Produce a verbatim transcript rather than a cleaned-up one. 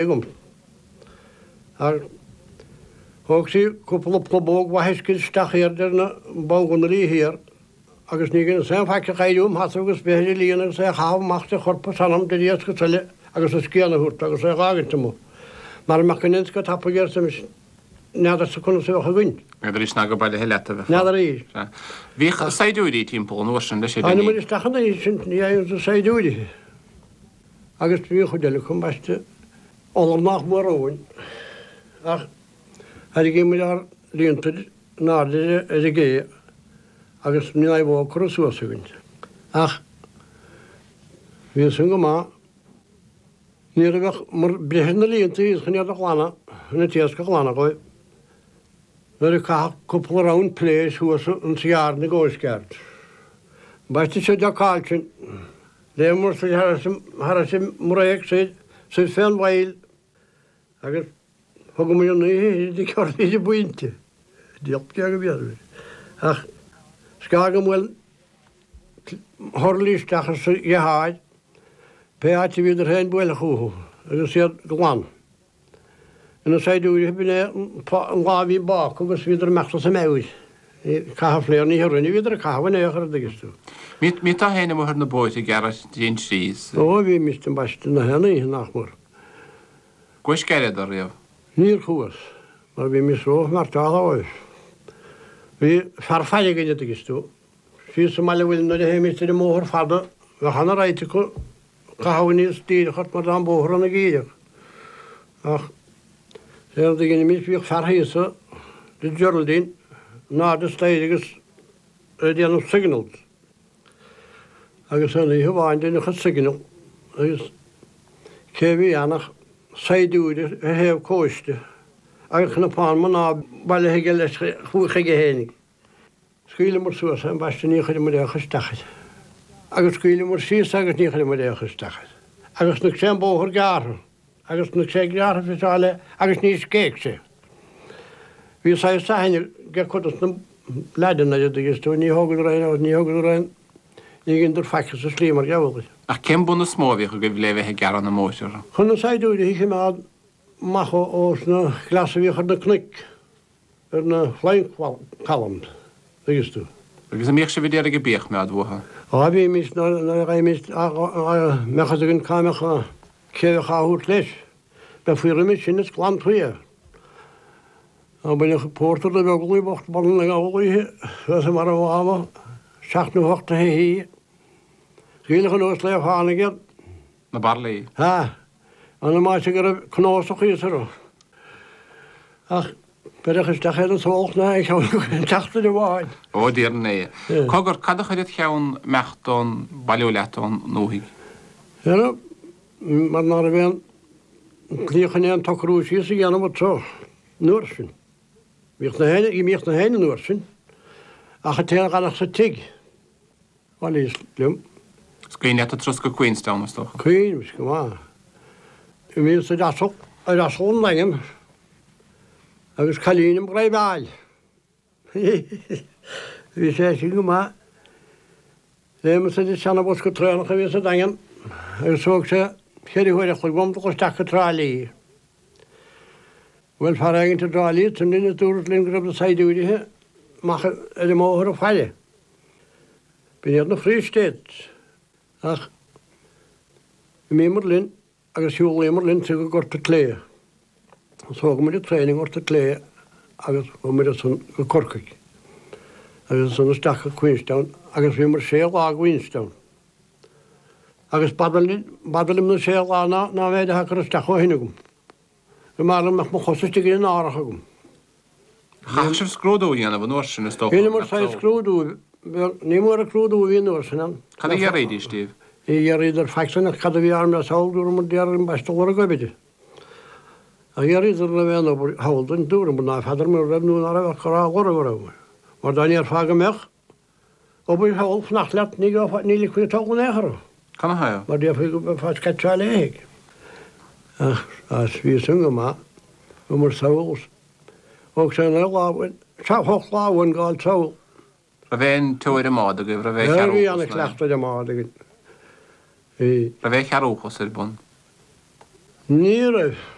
Agam. Ach thóg sí cúpla plobóg mhaith uisce isteach thiar idir na bolganna thiar agus ní dheineas aon faic ach éirí im sheasamh agus bheith ar an líon agus é a chaitheamh amach de chorp is anam de iasc is uile agus a scian a thabhairt agus é a dh'fhágaint amuigh. Mara mbeadh an iasc tapaidh arsa mise, n'fheadarsa conas a bheadh againn. N'fheadar is ná go bailithe leat a bheifeá. N'fheadar í. Sea. Bhíodh saighdiúirí timpeall an uair sin leis, a Tháinig Denis. muid isteach an oíche sin, ní fhaigheann tú saighdiúirí. Agus bhí an chuid eile acu ambaiste iolar nach mór romhainn. Ach thairrigí muid ár líonta in airde ar an gcé agus ní raibh bó curtha suas againn. Ach bhí san go maith. Ní raibh ach mar breith ar na líonta thíos chun iad a ghlanadh, chun an t-iasc a ghlanadh dhóibh. Nuair a caitheadh cúpla round pléis thuas insa ghearr na gCoast Guard. Ambaiste seo deocáil sin. Léimeamar soir thar an mbréig soir, soir fén bhfaill agus thugamar an oíche i dtigh Orlaí de Bhaointe. Diabhal cé go mb'fhéidir. Ach scagamar hurlaí isteach sa dheartháir, pé áit a bhíodar féin buaile chucu agus iad glan. Ina saighdiúirí b'in é an lá a bhí bác agus bhíodar imeacht as a meabhair. Caitheamh fléar ní hurrainn a bhíodar ag caitheamh in aon chor an dtuigeann tú. Mbíteá féin amuigh ar na bóithre ag gearradh tríd an trí. Ó bhí mise ambaiste na haon oíche nach mór. Chuais gearradh riamh? Níor chuas, mar bhí mise rómharcáilte dhóibh. Bhí fear faire againn an dtuigeann tú. Síos sa mbaile bhfuil nuair a théimis ar an mbóthar fada bheadh ana-roinnt acu caitheamh aníos díreach ort mar tá an bóthar ana-dhíreach. Ach sé an rud a dheinimís bhíodh fear thíos i Geraldine in airde staighre agus ag déanamh signals. Agus an oíche amháin deineadh an signal agus cé a bhí ann ach saighdiúir ar thaobh cóiste agus cnapán mná bailithe aige leis chuaigh chuige fhéinig. Scaoileamar suas é ambaiste ní chuireamar aon chur isteach air. Agus scaoileamar síos é agus ní chuireamar aon chur isteach air. Agus chonaic sé an bóthar gearrtha. Agus chonaic sé gearrtha fiseáil é agus ní scéigh sé. Bhí saghas aithne ag cuid dos na leaideanna air an dtuigeann tú, ní thógadar aon, ní thógadar aon, ní dheineadar faic sa slí mar gheall air. Ach cén bun is mó a bhíodh agaibh le bheith ag gearradh na mbóithre? Chun na saighdiúirí a choimeád amach ós na gleasa a bhíodh ar na cnoic, ar na flying columns, dtuigeann tú. Agus an mbíodh sibh a d'iarraidh a bia a choimeád uathu? Á bhímis nuair a gheibhimís, dá mbeadh fhios againn cá mbeadh, cé a bheadh á thabhairt leis. Bheifí roimis sin is glanfaí é. Dá mbaineadh pórtar do Bheaglaoich bocht Baile na nGall oíche suas i mbarra mháma, seacht nó hocht de shoithí. Scaoileadh anuas le fánaigh iad. Na bairillí. Sea. An áit go raibh cnósach thíos orthu. Ach beireadh isteach ar an sólach ná aon cheann acu aon tseachtain amháin. Ó, déarfainn é. Cogar, cad a chuir id cheann imeacht ón, bailiú leat ón ndúthaigh? Ara, mar ná raibh aon tslí chun aon tsocrú síos a dhéanamh anseo an uair sin. Bhíodh na héinne, imíodh na héinne an uair sin, ach an té a dh'fhanfadh sa tigh, bhailíos liom. Is cuimhin leat an turas go Queenstown, is dócha? Cuimhním go maith. Imíos ar asal, ar asal an Daingin agus cailín im dhraibheáil. Bhí sé sin go maith. Léimeas ar an seana-bhosca traenach a bhí sa Daingean agus thóg sé ceithre huaire a chloig uaim dul isteach go Trá Lí. Bhuail fear éigint i dTrá Lí ansin linn is dúradh linn go raibh na saighdiúirithe amach ar an mbóthar ag faire. B'in iad na Free States. Ach imíomar linn agus shiúlaíomar linn soir go Gort a' tSléibhe. Thóg muid an traein i nGort a' tSléibhe agus chuaigh muid ansan go Corcaigh agus ansan isteach go Queenstown agus bhíomar sé lá i gQueenstown. Agus b'fhada linn, b'fhada liom na sé lá ná ná an méid atá curtha isteach ó shin agam. Go mb'fhearr liom mbeadh mo chosa istigh in árach agam. Chaithfeadh sibh scrúdú a dhéanamh an uair sin, is dócha, Dheineamar saghas scrúdú, ní mór an scrúdú a bhí an uair sin ann. Cad a d'fhiafraídís díobh? Ní d'fhiafraíodar faic san ach cad a bhí orm le sall, dúramar déarfainn ambaiste lorg oibre. Ach d'fhiafraíodar an raibh aon obair thall dúinn, dúramar ná feadar mura raibh nó ná raibh ach gur á lorg a rabhamar. Mar dá ndéarfá go mbeadh obair thall fanacht leat ní gheofá, ní ligfí thall in aon chor thú. Canathaobh? Mar déarfaí go mbeifeá sceitseáil éithigh. Ach as bhí san go maith, chuamar sall. Thóg sé naoi lá uainn, hocht lá uainn gabháil sall. Raibh aon teoir i mbád agaibh, raibh aon Bhí chearúchas ná? ana-chleachtadh ar an mbád againn. Bhí. Raibh aon chearúchas ar bun? Ní raibh.